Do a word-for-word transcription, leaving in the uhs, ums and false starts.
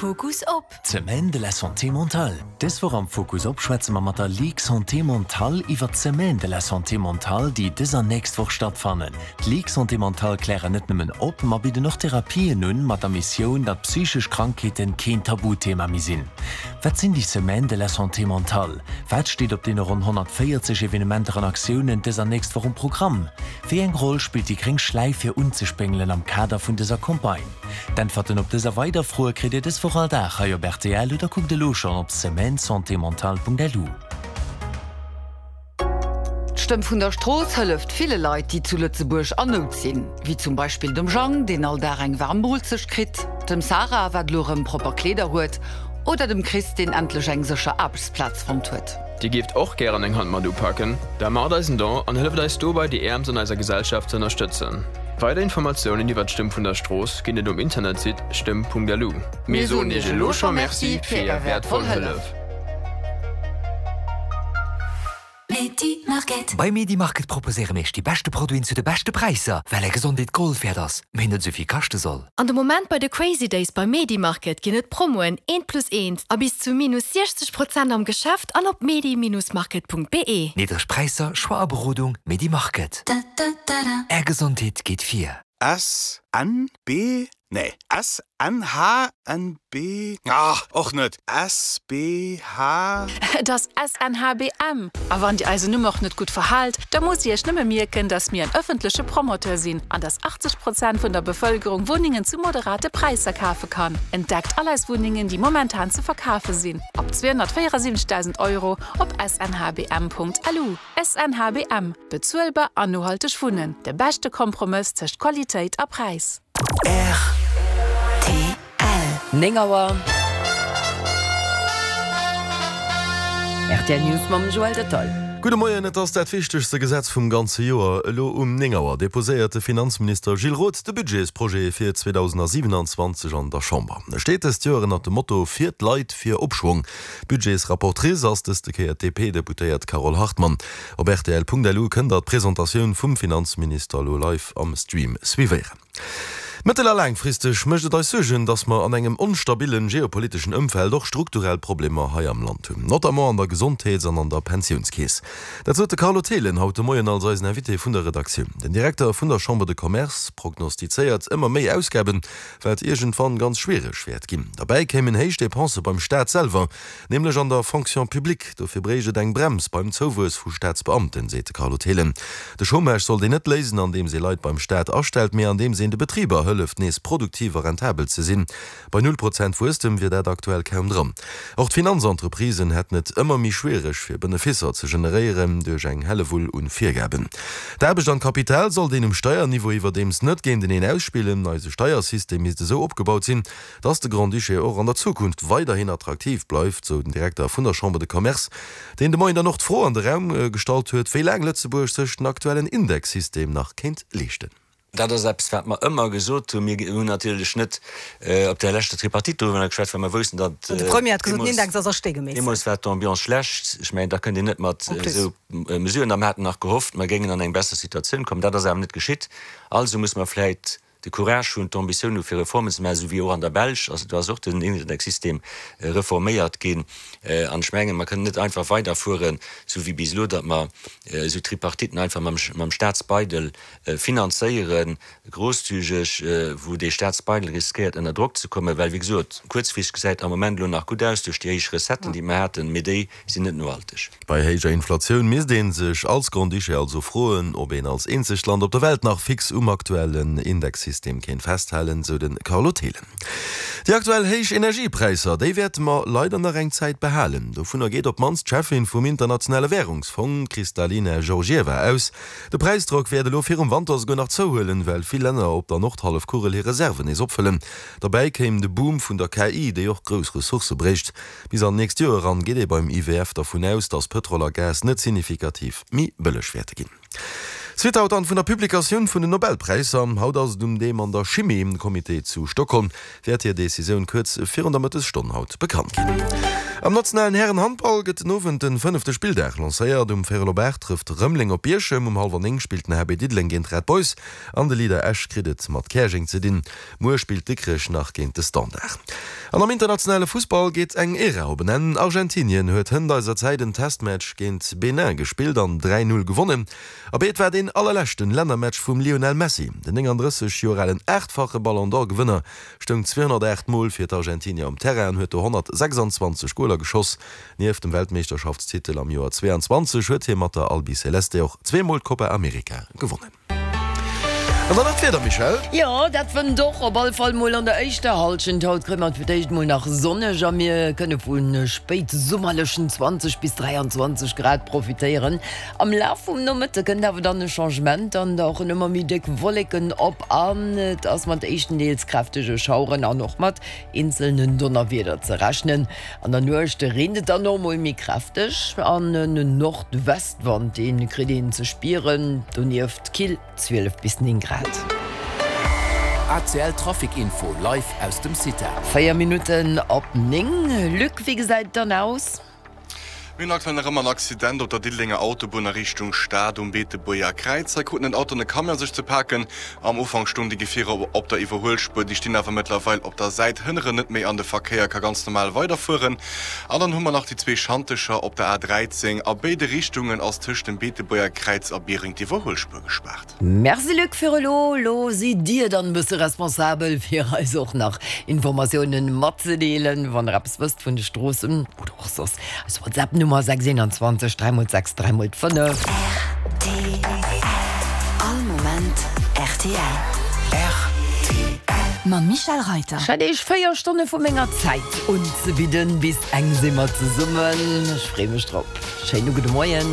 Fokus op. D'Semaine de la Santé mentale. Dës Woch am Fokus op schwätze mer mat der Ligue Santé Mentale iwwer d'Semaine de la Santé mentale, déi dës an nächst Woch stattfannen. D'Ligue Santé Mentale klären net nëmmen op, ma bidden och Therapien un, mat der Missioun, datt psychesch Krankheeten keen Tabuthema méi sinn. Wat sinn déi Semaines de la Santé mentale? Wat steet op deene ronn honnertvéierzeg Evenementer an Aktiounen dës an nächst Woch um Programm? Wéi eng Roll spillt déi gréng Schläif fir unzespéngelen am Kader vun dëser Campagne? D'Äntwerten op dës a weider Froe kritt Dir dës Woch all Dag hei op rtl oder kuckt elo schonn op semaine-santé-mentale.lu. D'Stëmm vun der Strooss hëlleft ville Leit, déi zu Lëtzebuerg an Nout sinn. Wéi zum Beispill dem Jang, deen all Dag eng waarm Moolzecht kritt, dem Sarah, wat elo erëm propper Kleeder huet, oder dem Chris, deen endlech eng sécher Aarbechtsplaz fonnt huet. Dir géift och gären eng Hand mat upaken? Da maacht eis en Don an hëlleft eis dobäi déi Äermst an eiser Gesellschaft ze ënnerstëtzen. Weider Informatiounen iwwer d'Stëmm vun der Strooss ginn et um Internetsite stëmm.lu. Mir soen Iech elo scho Merci fir Är wäertvoll Hëllef. Bei Medimarket proposéiere mir iech déi beschte Produiten zu de beschte Präisser, well är Gesondheet Gold wäert ass, mee net esou vill kaschte soll. An de Moment bei de Crazy Days bei Medimarket ginn et Promoen eent plus eent a bis zu minus siechzeg Prozent am Geschäft an op medi-market.be. Niddreg Präisser, Choix a Berodung, Medimarket. Är Gesondheet geet vir. S, N, B, nee, S, N, H, N, B, ah, och net, S, B, H. Et ass S N H B M. A wann Dir eisen Numm och net gutt verhaalt, da musst Dir Iech nëmme mierken, dass mir en ëffentleche Promoteur sinn an dass achtzeg Prozent vun der Bevëlkerung Wunnengen zu moderate Präisser kafe kann. Entdeckt all eis Wunnengen, déi momentan ze verkafe sinn, ab zweehonnertvéierasiwwenzegdausend Euro op S N H B M Punkt L U. S N H B M, Bezuelbar an nohalteg Wunnen, de beschte Kompromëss tëscht Qualitéit a Präis. R T L. Néng Auer. R T L News mam Joël Detail. Gudde Moien, Et ass dat wichtegste Gesetz vum ganze Joer. Elo um néng Auer deposéiert de Finanzminister Gilles Roth de Budgetsprojet fir zweedausendsiwenanzwanzeg an der Chamber. E steet dëst Joer ënnert dem Motto Fir d'Leit, fir Opschwong. Budgetsrapportrice ass dëste Kéier d'D P-Deputéiert Carole Hartmann. Op rtl Punkt L U kënnt der d'Presentatioun vum Finanzminister elo live am Stream suivéieren. Mëttel a laangfristeg mécht et eis Suergen, datt mer an engem onstabille geopoliteschen Ëmfeld och strukturell Problemer hei am Land hunn, notamment an der Gesondheets an an der Pensiounskeess. Dat sot de Carlo Thelen haut de Moien als eisen Invité vun der Redaktioun. Den Direkter vun der Chambre de Commerce prognostizéiert ëmmer méi Ausgaben, wat iergendwann ganz schwiereg wäert ginn. Derbäi kéimen héich Depensë beim Staat selwer, nämlech an der Fonction publique. Dofir bréicht et eng Brems beim Zouwuess vu Staatsbeamten, seet de Carlo Thelen. De Chômage sollt een net léisen, andeems ee Leit beim Staat astellt, mee andeems een de Betriber hëlleft, nees produktiv a rentabel ze sinn. Bei null Prozent Wuesstem wier dat aktuell kaum dran. Och d'Finanzentreprisen hätten et ëmmer méi schwiereg, fir Benefisser ze generéieren duerch eng Hellewull un Virgaben. D'Aarbecht an d'Kapital sollt een um Steierniveau iwwerdeems net géinteneen ausspillen. Eise Steiersystem misst esou opgebaut sinn, dass de Grand-Duché och an der Zukunft weiderhin attraktiv bleift, sou den Direkter vun der Chambre de Commerce, deen de Moien dann och d'Fro an de Raum gestallt huet, wéi laang Lëtzebuerg sech den aktuellen Indexsystem nach kéint leeschten. Dat ass eppes, wat mer ëmmer gesot hunn. Mir hunn natierlech net op där leschter Tripartite doriwwer geschwat, well mer woussten, datt. De Premier hat gesot, den Index ass a Stee gemeesselt. Deemools war d'Ambiance schlecht. Ech mengen, da kënnt een net mat esou Mesuren. A mer haten nach gehofft, mer géingen an eng besser Situatioun kommen. Dat ass awer net geschitt. Also muss mer vläicht de Courage hunn, d'Ambitioun hu fir Reformen ze maachen, esou wéi och an der Belsch. Also do ass och den Indexsystem reforméiert ginn. An ech mengen, mer kënnen net einfach weiderfueren, esou wéi bis elo, datt mer esou Tripartiten einfach mam Staatsbeidel finanzéieren, grosszügeg, wou dee Staatsbeidel riskéiert ënner Drock ze kommen, well, wéi gesot, kuerzfristeg gesäit am Moment elo nach gutt aus duerch déi héich Recetten, déi mer haten, mee déi sinn net nohalteg. Bei héijer Inflatioun misst ee sech als Grand-Duché also froen, ob een als eenzegt Land op der Welt nach fix um aktuellen Indexsystem kéint festhalen, sou de Carlo Thelen. Déi aktuell héich Energiepräisser, déi wäerte mer leider nach eng Zäit behalen. Dovunner geet op d'mannst d'Cheffin vum Internationale Wärungsfong, d'Kristalina Georgieva, aus. De Präisdrock wäert elo virum Wanter esouguer nach zouhuelen, well vill Länner op der Nordhallefkugel hir Reserven nees opfëllen. Derbäi kéim de Boom vun der K I, déi och grouss Ressourcë bréicht. Bis an d'nächst Joer eran geet ee beim I W F dervun aus, datt Pëtrol a Gas net signifikativ méi bëlleg wäerte ginn. Suite haut dann vun der Publikatioun vun den Nobelpräisser. Haut ass et um deem an der Chimie. De Comité zu Stockholm wäert hir Decisioun kuerz virun der Mëttesstonn haut bekannt ginn. Am nationalen Hären-Handball gëtt den Owend de fënnefte Spilldag lancéiert. Um Véierel op aacht trëfft Rëmeleng op Bierchem, um hallwer néng spillt den H B Diddeleng géint Red Boys an de Leader Esch kritt et mat Käerjeng ze dinn. Muer spillt Dikrech nach géint de Standard. An am internationale Fussball geet eng Ära op en Enn. Argentinien huet hënt eiser Zäit en Testmatch géint Benin gespillt an dräi Null gewonnen. Abee, et war deen allerleschten Lännermatch vum Lionel Messi. Den néngandrësseg Joer alen aachtfache Ballon d'Or Gewënner stoung zweehonnertaacht Mol fir d'Argentinier um Terrain an huet do honnertsechsanzwanzeg Goler geschoss. Nieft dem Weltmeeschterschaftstitel am Joer zweeanzwanzeg huet hie mat der Albiceleste och zweemol d'Copa America gewonnen. An dann nach d'Wieder, Michèle? Jo, dat wënnt och, op alle Fall mol an der éischter Hallschent. Haut kréie mer et fir d'éischt mol nach sonneg a mir kënne vu spéitsummerlechen zwanzeg bis dräianzwanzeg Grad profitéieren. Am Laf vum Nomëtte kënnt awer dann e Changement an dauchen ëmmer méi déck Wolleken op an et ass mat éischtendeels kräftege Schaueren an och mat eenzelnen Donnerwieder ze rechnen. An der Nuecht reent et dann och mol méi kräfteg an en Nordwestwand, dee kritt een ze spieren, donieft kill zwielef bis néng Grad. A C L Trafic Info live aus dem Cita. Véier Minutten op néng. Luc, wéi gesäit et dann aus? Mir hunn aktuell nach ëmmer en Accident op der Diddelenger Autobunn a Richtung Stad um Beetebuerger Kräiz. Hei kruten en Auto an e Camion sech ze paken. Am Ufank stoungen déi Gefierer op der Iwwerhuelspuer, déi stinn awer mëttlerweil op der Säit, hënneren net méi an de Verkéier ka ganz normal weiderfueren. An dann hu mer nach déi zwee Schantecher op der A dräizéng. A béide Richtungen ass tëscht dem Beetebuerger Kräiz a Biereng d'Iwwerhuelspuer gespaart. Merci Luc fir elo. Elo sidd Dir dann e bësse responsabel fir eis och nach Informatiounen matzedeelen, wann der eppes wësst vun de Stroossen oder och soss. Eis WhatsApp Nummer sechs eenanzwanzeg dräi mol sechs dräi mol fënnef. Rtl, All Moment rtl. Rtl. Mam Michèle Reiter. Ech hat Iech véier Stonne vu menger Zäit unzebidden. Bis eng si mer zesummen. Ech freeë mech drop. Schéine gudde Moien.